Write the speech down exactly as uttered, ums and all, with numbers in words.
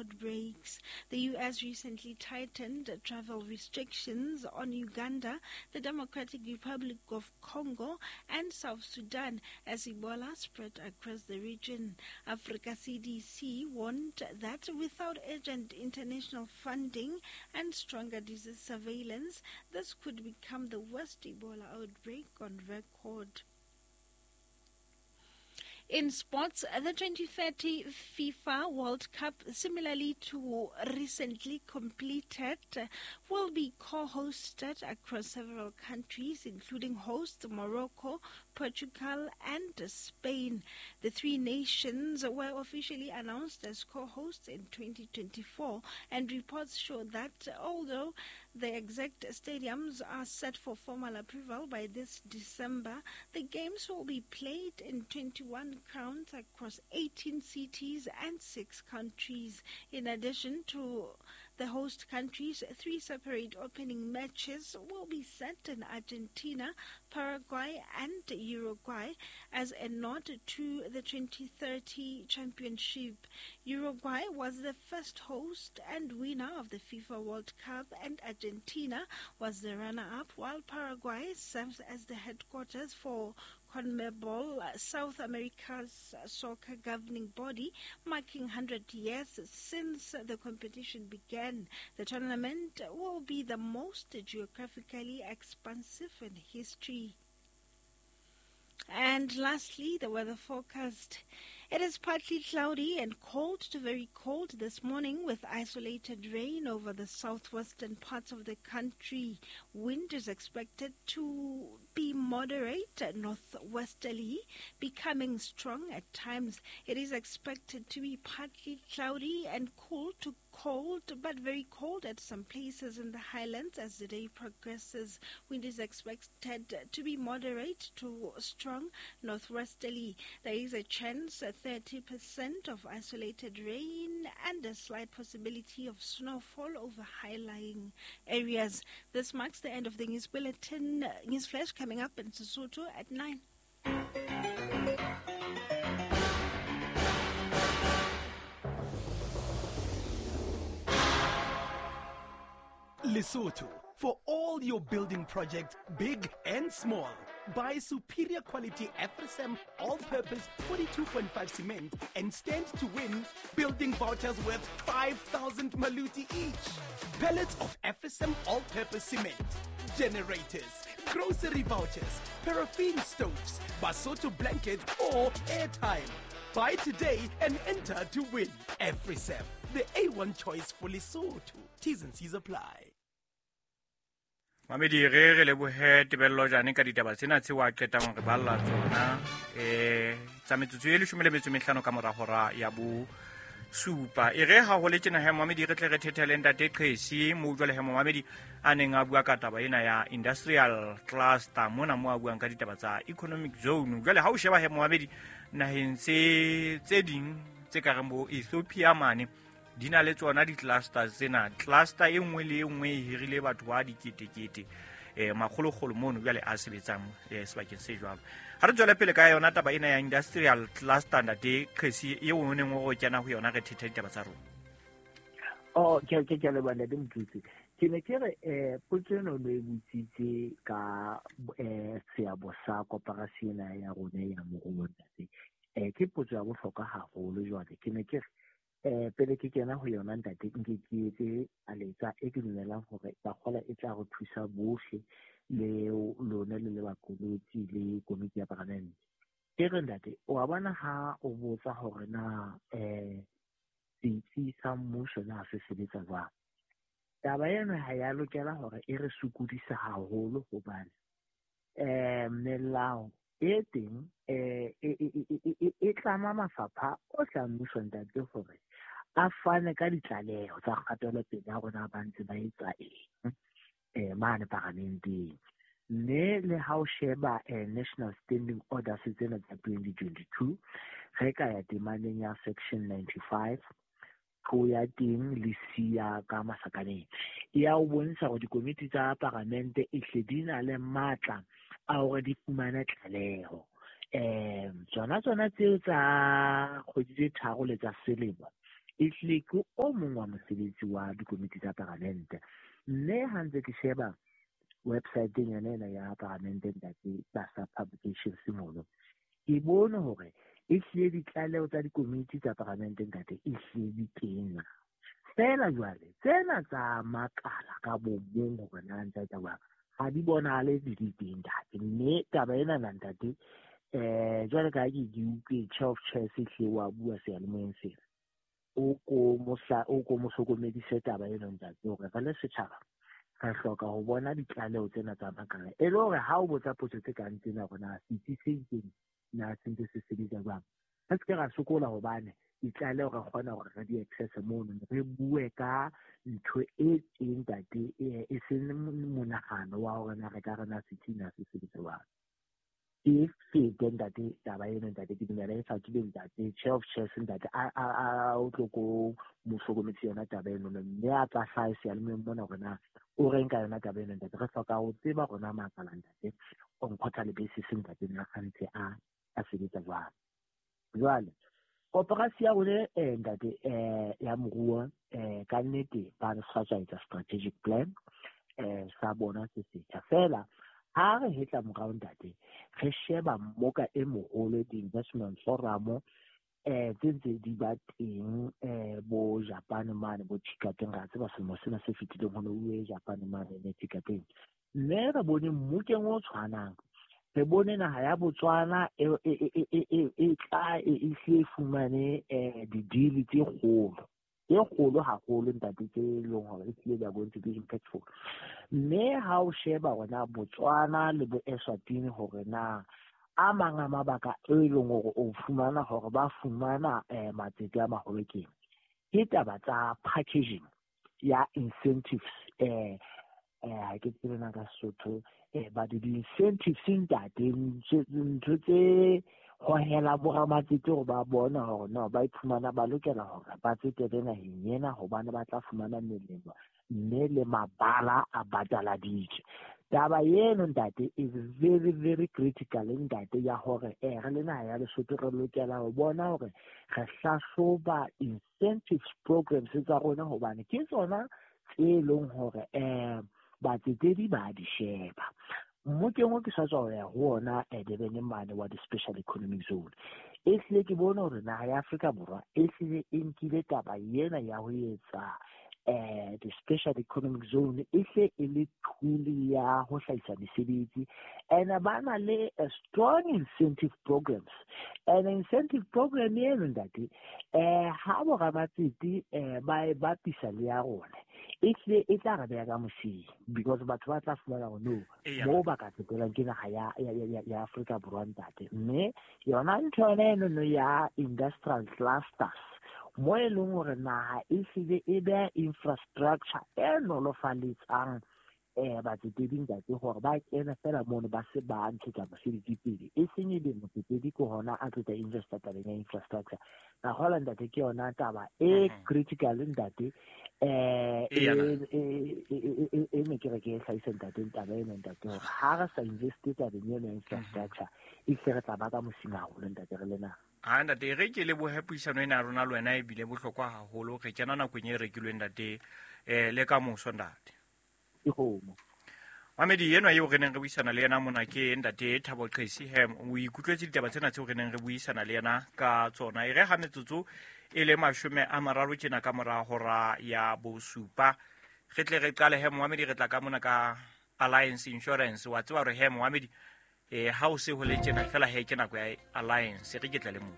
outbreaks. The U S recently tightened travel restrictions on Uganda, the Democratic Republic of Congo, and South Sudan as Ebola spread across the region. Africa C D C warned that without urgent international funding and stronger disease surveillance, this could become the worst Ebola outbreak on record. In sports, the twenty thirty FIFA World Cup, similarly to recently completed, will be co-hosted across several countries, including host Morocco, Portugal, and Spain. The three nations were officially announced as co-hosts in twenty twenty-four, and reports show that although the exact stadiums are set for formal approval by this December, the games will be played in twenty-one grounds across eighteen cities and six countries. In addition to the host countries, three separate opening matches will be set in Argentina, Paraguay, and Uruguay as a nod to the twenty thirty championship. Uruguay was the first host and winner of the FIFA World Cup, and Argentina was the runner-up, while Paraguay serves as the headquarters for CONMEBOL, South America's soccer governing body, marking one hundred years since the competition began. The tournament will be the most geographically expansive in history. And lastly, the weather forecast. It is partly cloudy and cold to very cold this morning, with isolated rain over the southwestern parts of the country. Wind is expected to be moderate northwesterly, becoming strong at times. It is expected to be partly cloudy and cool to cold, but very cold at some places in the highlands as the day progresses. Wind is expected to be moderate to strong northwesterly. There is a chance at thirty percent of isolated rain and a slight possibility of snowfall over high-lying areas. This marks the end of the news bulletin. News Flash coming up in Sesotho at nine. Lesotho, for all your building projects, big and small. Buy superior quality AfriCem all-purpose forty-two point five cement and stand to win building vouchers worth five thousand maluti each. Pallets of AfriCem all-purpose cement, generators, grocery vouchers, paraffin stoves, Basotho blankets, or airtime. Buy today and enter to win. AfriCem, the A one choice for Lesotho. T's and C's apply. Mamedi re re lebohe Tebello Jane ka ditaba tsena tseo a qetang re balla tsona eh tsa metsotso e leshome le metso e mehlano ka mora hora ya bo supa. E re ha ho le tjena he Mamedi re tle re thethele ntate Qhesi mo jwale he Mamedi a neng a bua ka taba ena ya industrial cluster mona mo a buang ka ditaba tsa economic zone. Jwale ha o sheba he Mamedi naheng tse tse ding tse ka reng bo Ethiopia mane di na le tsona di-clusters tsena. Cluster e nngwe le e nngwe e hirile batho ba diketekete eh makgolokgolo mono jwale a sebetsang eh sebakeng se jwalo. Ha re tswele pele ka yona taba ena ya industrial cluster ntate Qhesi eo o neng o kena ho yona re thetha ditaba tsa rona. Oh, ke ke ke leboha ntate Motutsi. Ke ne ke re eh potso ena o ne e botsitse ka eh seabo sa koporasi ena ya rona ya moruo ntate. Eh ke potso ya bohlokwa haholo jwale. Ke ne ke re eh pele ke kena ho yona ntate nke ke etse aletsa e ke dumelang hore bakgola e tla re thusa bohle le lona le le bakolotsi le komiti ya parlamente. Ke re ntate o a bona ha o botsa hore na eh setsi sa mmuso na se sebetsa jwang. Taba ena ha ya lokela hore e re sokodise haholo hobane eh melao e teng eh e tlama mafapha ohle a mmuso ntate hore a fane ka ditlaleho tsa kgatelopele ya rona ba ntse ba etsa eng eh mane paramenteng. Mme le ha o sheba eh, National Standing Orders tsena tsa twenty twenty-two re ka ya temaneng ya section ninety-five ho ya teng le siya ka masakaneng ya o bontsha hore dikomiti tsa paramente e hle di na le matla a hore di fumane tlaleho. Eh tsona tsona tseo tsa kgwedi tse tharo le tsa selemo Ehlile ke o mong wa mosebetsi wa dikomiti tsa paramente. Mme ha ntse ke sheba website-eng yona ena ya paramente ntate tlasa publications mono, ke bone hore ehlile ditlaleho tsa dikomiti tsa paramente ntate ehlile di teng. Feela jwale tsena tsa makala ka bo mong hore na ntse tsa jwang ha di bonahale di le teng ntate. Mme taba ena na ntate eh jwale ka ke ke utlwe chair of chairs ehlile wa bua seyalemoyeng sena, o ko mohla o ko mo hlokomedise taba ena ntate hore re le setjhaba re hloka ho bona ditlaleho tsena tsa makala e le hore ha o botsa potso tse kang tsena hore na setsi se itseng na se ntse se sebetsa jwang, re se ke ra sokola hobane ditlaleho re kgona hore re di access mono, re bue ka ntho e teng ntate e seng monahano wa hore na re ka re na setsi na se sebetsa jwang. E fete ntate taba eno ntate, ke dumela e fakile ntate chair of chairs ntate a a o tlo ko mo hlokometse yona taba eno, mme a tla hlaha seyalemoyeng mona hore na o reng ka yona taba eno ntate. Re hloka ho tseba rona makala ntate on quarterly basis ntate na a ntse a a sebetsa jwang. Jwale koporasi ya rona eh ntate eh ya moruo eh ka nnete ba re sa tswa etsa strategic plan eh sa bona se setjha. Feela ha re hetla morao ntate re sheba mmoka e moholo di-investment forum eh tse ntse di ba teng eh bo Japan mane bo Thikateng, ra tseba selemo sena se fetileng ho ne ho uwe Japan mane ne Thikateng, mme re bone mmokeng o tshwanang, re bone naha ya Botswana e e e tla e e fumane eh di-deal tse kgolo e kgolo haholo ntate tse leng hore ehlile they are going to be impactful. Mme ha o sheba hore Botswana le bo Eswatini hore na a mang a mabaka e leng hore o fumana hore ba fumana eh matsete a maholo ke ke taba tsa packaging ya incentives eh eh ke tsebe na ka Sesotho eh ba di-incentives ntate ntho tse hohela boramatsete hore ba bona hore no ba iphumana ba lokela hore ba tsetele naheng ena hobane ba tla fumana melemo mme le mabala a bataladitswe. Taba eno ntate is very very critical ntate ya hore eh re le naha ya Lesotho re lokela ho bona hore re hlahloba incentives programs tsa rona hobane ke tsona tse leng hore eh batsetedi ba di sheba. Mmokeng o ke sa tswa ho ya ho ona Durban mane wa di-special economic zone, ehlile ke bone hore naha ya Afrika Borwa ehlile e nkile taba ena ya ho etsa eh di-special economic zone ehle e le tool ya ho hlahisa mesebetsi, and ba na le a strong incentive programs. And incentive program eno ntate eh ha boramatsete eh ba e bapisa le ya rona ehlile e tla re beha ka mosing because batho ba tla fumana hore no moo ba ka tsetelang ke naha ya ya ya Afrika Borwa ntate. Mme yona ntho yona eno no ya industrial clusters mo e leng hore naha e hlile e beha infrastructure e nolofaletsang eh batsetedi ntate hore ba kene fela mono ba se ba ntshetsa mosebetsi pele, e seng e be motsetedi ke hona a tlo tla investa tabeng ya infrastructure. Ka hola ntate ke yona taba e critical ntate eh e ne ke re ke hlahise ntate taba ena ntate hore ha re sa investe tabeng ena ya infrastructure e hle re tla ba ka mosing haholo ntate re le naha. Ha ntate re ke lebohe puisano ena ya rona le wena ebile bohlokwa haholo. Re kena nakong e rekilweng ntate eh le ka moso ntate. Ke kgomo. Mamedi enwa eo re neng re buisana le yena mona ke ntate Thabo Qesi. He o ikutlwetse ditaba tsena tseo re neng re buisana le yena ka tsona. E re ha metsotso e le mashome a mararo tjena ka mora hora ya bosupa re tle re qale he Mohamedi re tla ka mona ka Alliance Insurance. Wa tseba hore he Mohamedi eh ha o se ho le tjena fela he ke nako ya Alliance re ke tle le moo.